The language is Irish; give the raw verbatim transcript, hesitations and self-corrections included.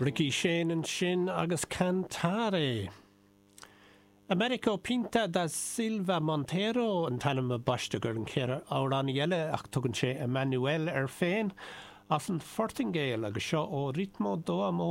Ricky Shane ansin agus Cantare. Americo Pinto da Silva Monteiro an t-ainm a baisteadh ar an chéad amhránaí eile ach tugann sé Emmanuel air féin as an Phortaingéil agus seo O Ritmo do Amor.